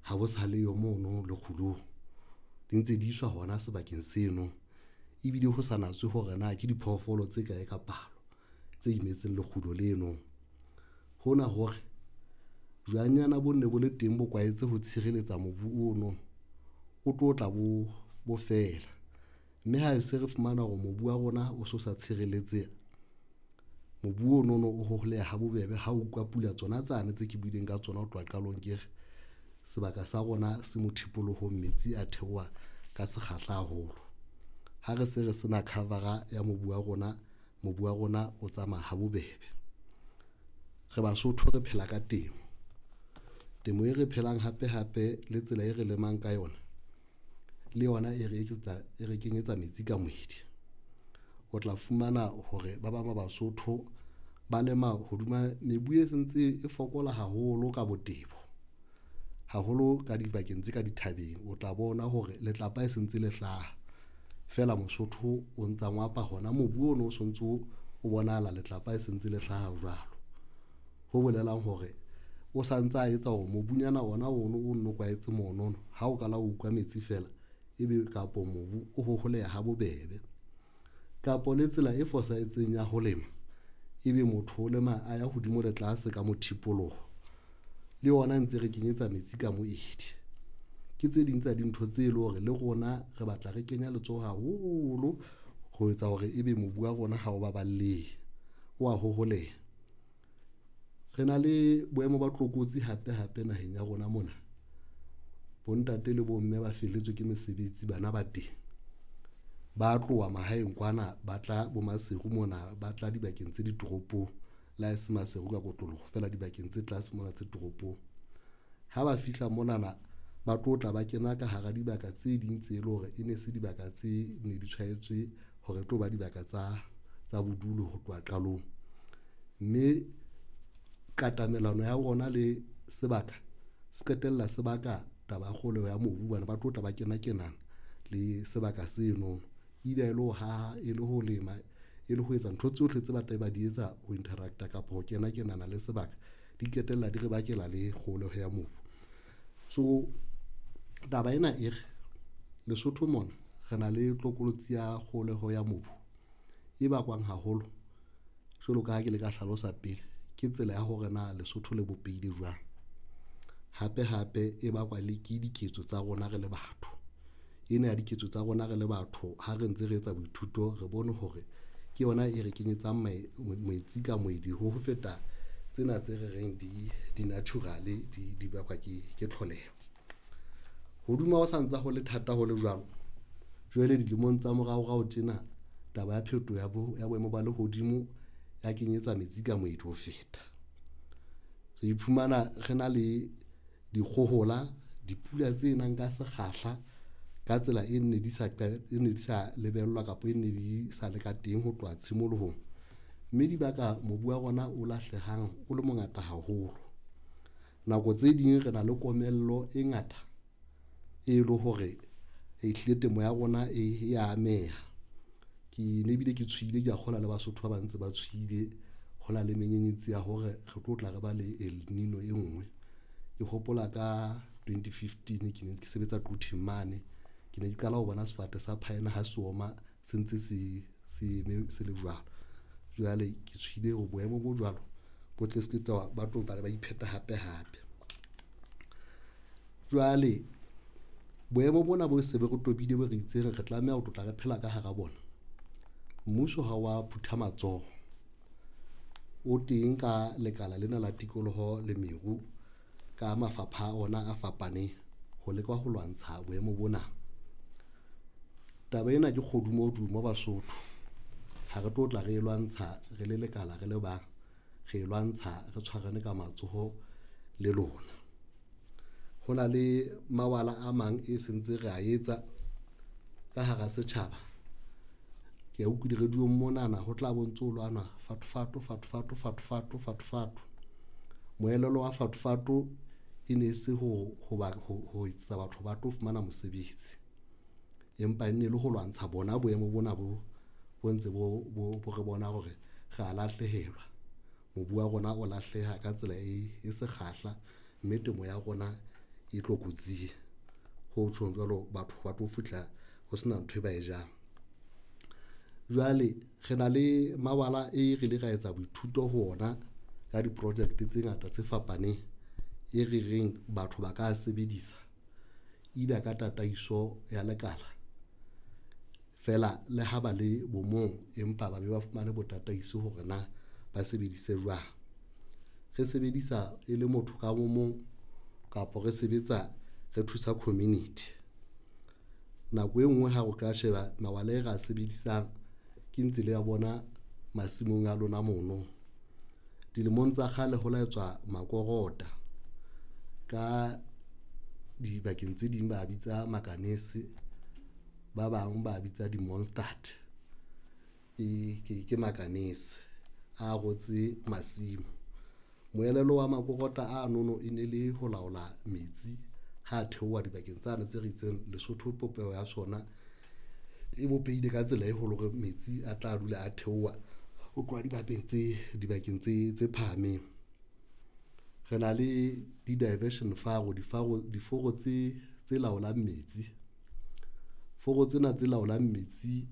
Ha bo sa leyo mono lekgulong, di ntse di iswa hona sebakeng seno ebile ho sa natswe hore na ke diphoofolo tse kae ka palo tse imetseng lekgulo leno. Hona hore jwangnyana bo nne bo le teng bo kwaetse ho tshireletsa mobu ono, o tlo tla bo fela, mme ha se re fumana hore mobu wa rona o so sa tshireletseha, mobu ono no o hoholeha ha bobebe ha o utlwa pula tsona tsane tse ke buileng ka tsona ho tloha qalong ke re, sebaka sa rona se mothipolohong metsi a theoha ka sekgahla haholo. Ha re se re sena cover-a ya mobu wa rona, mobu wa rona o tsamaya ha bobebe. Re Basotho re phela ka temo, temo e re phelang hape hape le tsela e re lemang ka yona le yona e re etsetsa, e re kenyetsa metsi ka moedi. O tla fumana hore ba bang ba Basotho ba lema hodima mebu e sentse e fokola haholo ka botebo, haholo ka dibakeng tse ka dithabeng, o tla bona hore letlapa e sentse le hlaha feela Mosotho o ntsa ngwapa hona mobu ono o sontso o bonahala letlapa e sentse le hlaha jwalo. Ho bolelang hore o santsa a etsa hore mobunyana ona ono o nno kwaetse monono, ha o kala o utlwa metsi fela ebe kapo mobu o hoholeha ha bobebe, kapo le tsela e fosahetseng ya ho lema, ebe motho o lema a ya hodimo le tlase ka mothipoloho, le yona ntse re kenyetsa metsi ka moedi. Ke tse ding tsa dintho tse leng hore le rona re batla re kenya letsoho haholo ho etsa hore ebe mobu wa rona ha o baballehe, wa hoholeha. Re na le boemo ba tlokotsi hape hape naheng ya rona mona, bontate le bomme ba felletswe ke mesebetsi, bana ba teng ba tloha mahaeng kwana, ba tla bo Maseru mona, ba tla dibakeng tse ditoropong, le ha e se Maseru ka kotloloho feela dibakeng tse tlase mona tse toropong. Ha ba fihla monana ba tlo tla ba kena ka hara dibaka tse ding tse leng hore e ne se dibaka tse ne di tshwaetswe hore e tlo ba dibaka tsa bodulo ho tloha qalong, mme katamelano ya bona le sebaka se qetella se baka taba ya kgoholeho ya mobu hobane ba tlo tla ba kena kenana le sebaka seno, either e le ho haha, e le ho lema, e le ho etsa ntho tsohle tse batlang ba di etsa ho interact-a kapa ho kena kenana le sebaka, di qetella di re bakela le kgoholeho ya mobu. So taba ena e re Lesotho mona re na le tlokolotsi ya kgoholeho ya mobu e bakwang haholo jwalo ka ha ke le ka hlalosa pele, ke tsela ya hore na Lesotho le bopehile jwang, hape hape e bakwa le ke diketso tsa rona re le batho. Ena ya diketso tsa rona re le batho ha re ntse re etsa boithuto re bone hore ke yona e re kenyetsang metsi ka moedi ho feta tsena tse re reng di natural di bakwa ke tlholeho. Hoduma ho santsa ho le thata ho le jwalo, jwale dilemong tsa moraorao tjena taba ya phetoho ya boemo ba lehodimo ya kenyetsa metsi ka moedi ho feta. Re iphumana re na le dikgohola, dipula tse nang ka sekgahla ka tsela e ne di sa e ne di sa lebellwa kapa e ne di sa le ka teng ho tloha tshimolohong, mme di baka mobu wa rona o lahlehang o le mongata haholo. Nako tse ding re na le komello e ngata e le hore ehlile temo ya rona e ya ameha. Ke ne ebile ke tshohile, ke a kgolwa le Basotho ba bang ntse ba tshohile ho na le menyenyetsi ya hore re tlo tla re ba le El Nino e nngwe. Ke hopola ka 2015 ke ne ke sebetsa Quthing mane, ke ne ke qala ho bona sefate sa phaena ha se oma se ntse se eme se le jwalo. Jwale ke tshohile hore boemo bo jwalo bo tle se ke ba tlo tla ba ipheta hape hape. Jwale boemo bona bo se be re tobile bo re itseng re tlameha ho tlotla re phela ka hara bona. Mmuso ha wa phutha matsoho, o teng ka lekala lena la tikoloho le meru ka mafapha a ona a fapaneng ho leka ho lwantsha boemo bona. Taba ena ke kgodumodumo Basotho, ha re tlo tla re e lwantsha re le lekala re le bang, re e lwantsha re tshwarane ka matsoho le lona. Ho na le mawala a mang e sentse re a etsa ka hara setjhaba. Ke a utlwa di-radio-ng monana ho tla bo ntso lwanwa fato fato fato fato fato fato fato fato. Moelelo wa fato fato e ne se ho etsa batho ba tlo fumana mosebetsi, empa e ne le ho lwantsha bona boemo bona bo ntse bo re bona hore re a lahlehelwa, mobu wa rona o lahleha ka tsela e sekgahla, mme temo ya rona e tlokotsing. Ho tjhong jwalo, batho ba tlo fihla ho sena ntho e ba e jang. Jwale re na le mabala e re ile ra etsa boithuto ho ona ka diprojeke tse ngata tse fapaneng, e re reng batho ba ka sebedisa either ka tataiso ya lekala feela le ha ba le bo mong, empa ba be ba fumane bo tataiso hore na ba sebedise jwang. Re sebedisa e le motho ka bo mong kapa re sebetsa re thusa community. Nako e nngwe ha o ka sheba mawala e re a sebedisang ke ntse le ya bona masimong a lona mono. Dilemong tsa kgale ho la etswa makorota ka dibakeng tse ding ba bitsa makanese, ba bang ba bitsa di-mostard ke makanese a rotse masimo. Moelelo wa makorota ano e ne le ho laola metsi ha theoha dibakeng tsane tse re itseng Lesotho popeho ya sona e bopehile ka tsela e holo hore metsi a tla dula a theoha ho tloha dibakeng tse phahameng. Re na le di-diversion faro, diforo tse laolang metsi. Foro tsena tse laolang metsi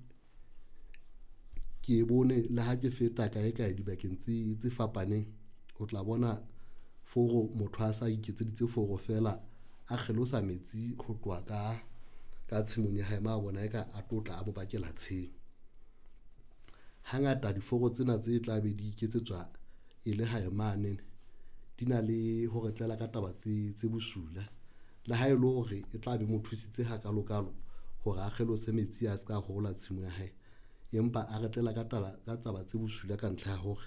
ke e bone le ha ke feta kae kae dibakeng tse fapaneng, o tla bona foro motho a sa iketseditse foro feela, a kgelosa metsi ho tloha ka tshimong ya hae ma bona eka a tlo tla a mo bakela tshenyo. Hangata diforo tsena tse tla be di iketsetswa e le hae mane, di na le ho re tlela ka taba tse bosula le ha ele hore e tla be mo thusitse hakalokalo hore a kgelose metsi a ska hola tshimo ya hae, empa a re tlela ka taba tse bosula ka ntlha ya hore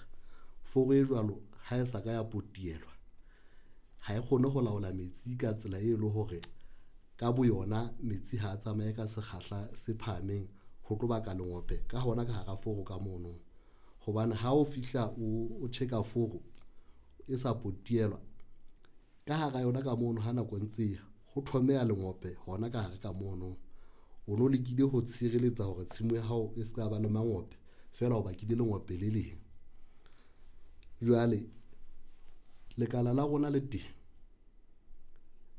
foro e jwalo ha e sa ka ya potielwa, ha e kgone ho laola metsi ka tsela e leng hore ka boyona metsi ha tsamaye ka sekgahla se phahameng ho tlo baka lengope ka hona ka hara foro ka mono. Hobane ha o fihla o tjheka foro e sa potielwa ka hara yona ka mono, ha nako e ntse e ya ho thomeha lengope hona ka hare ka mono, o no lekile ho tshireletsa hore tshimo ya hao e ska ba le mangope feela o bakile lengope le leng. Jwale lekala la rona le teng,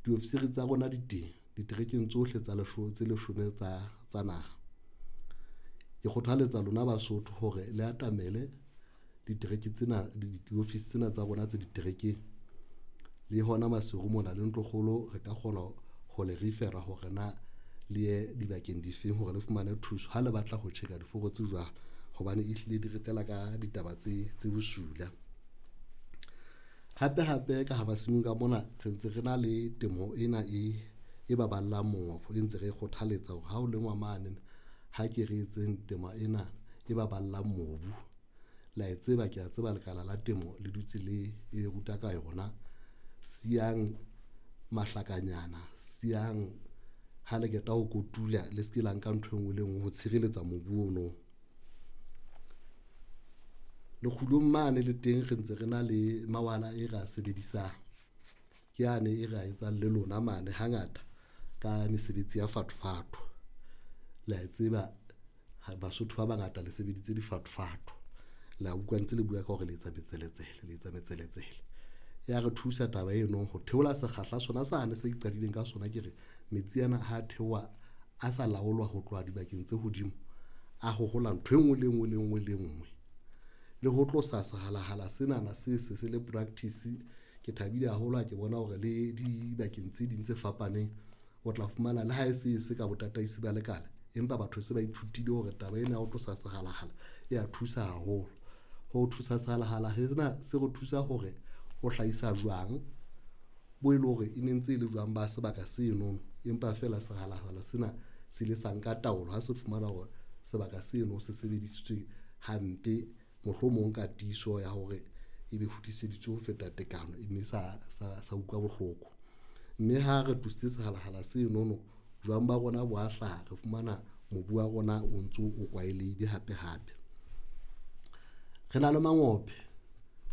diofisiri tsa rona di teng diterekeng tsohle tse leshome tsa naha. Ke kgothaletsa lona Basotho hore le atamele ditereke tsena, diofisi tsena tsa rona tse diterekeng le hona Maseru mona le Ntlokgolo, re ka kgona ho le refer-a hore na le ye dibakeng difeng hore le fumane thuso ha le batla ho tjheka diforo tse jwalo, hobane ehlile di re tlela ka ditaba tse bosula. Hape hape ka ha masimong ka mona re ntse re na le temo ena e baballang mongobo, e ntse re kgothaletsa hore ha o lengwa mane ha ke re etseng temo ena e baballang mobu. Le a e tseba, ke a tseba lekala la temo le dutse le e ruta ka yona, siyang mahlakanyana, siyang ha le qeta ho kotula, le se ke la nka ntho e nngwe le e nngwe ho tshireletsa mobu ono. Lekgulong mane le teng re ntse re na le mawala e re a sebedisang, ke yane e re a etsang le lona mane hangata ka mesebetsi ya fathofatho. Le a e tseba Basotho ba bangata le sebeditse difathofatho, le a utlwa ntse le bua ka hore le etsa metseletsele, le etsa metseletsele. Ya re thusa taba eno ho theola sekgahla sona sane se qadileng ka sona, ke re metsi ana ha theoha a sa laolwa ho tloha dibakeng tse hodimo, a hohola ntho e nngwe le e nngwe le e nngwe le e nngwe. Le ho tlosa sehalahala senana se se se le practice, ke thabile haholo ha ke bona hore le dibakeng tse ding tse fapaneng, o tla fumana le ha e se ka botataisi ba lekala, empa batho se ba ithutile hore taba ena ya ho tlosa sehalahala e ya thusa haholo. Ho thusa sehalahala sena se re thusa hore o hlahisa jwang bo e leng hore e ne ntse e le jwang ba sebaka seno, empa feela sehalahala sena se ile sa nka taolo ha se fumana hore sebaka seno se sebedisitswe hampe, mohlomong ka tiiso ya hore ebe hodiseditswe ho feta tekano, mme sa utlwa bohloko. Mme ha re tlositse sehalahala senono, jwang ba rona bo a hlaha, re fumana mobu wa rona o ntso o kwaheleile hape hape. Re na le mangope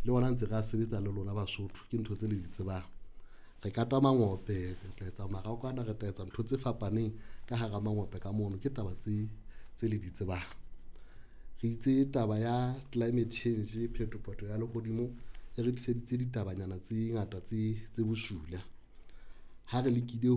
le ona ntse re a sebetsa le lona Basotho, ke ntho tse le di tsebang. Re kata mangope, re tla etsa marakwana, re tla etsa ntho tse fapaneng ka hara mangope ka mono, ke taba tse le di tsebang. Re itse taba ya climate change, phetopheto ya lehodimo e re tliseditse ditabanyana tse ngata tse bosula. Ha re lekile ho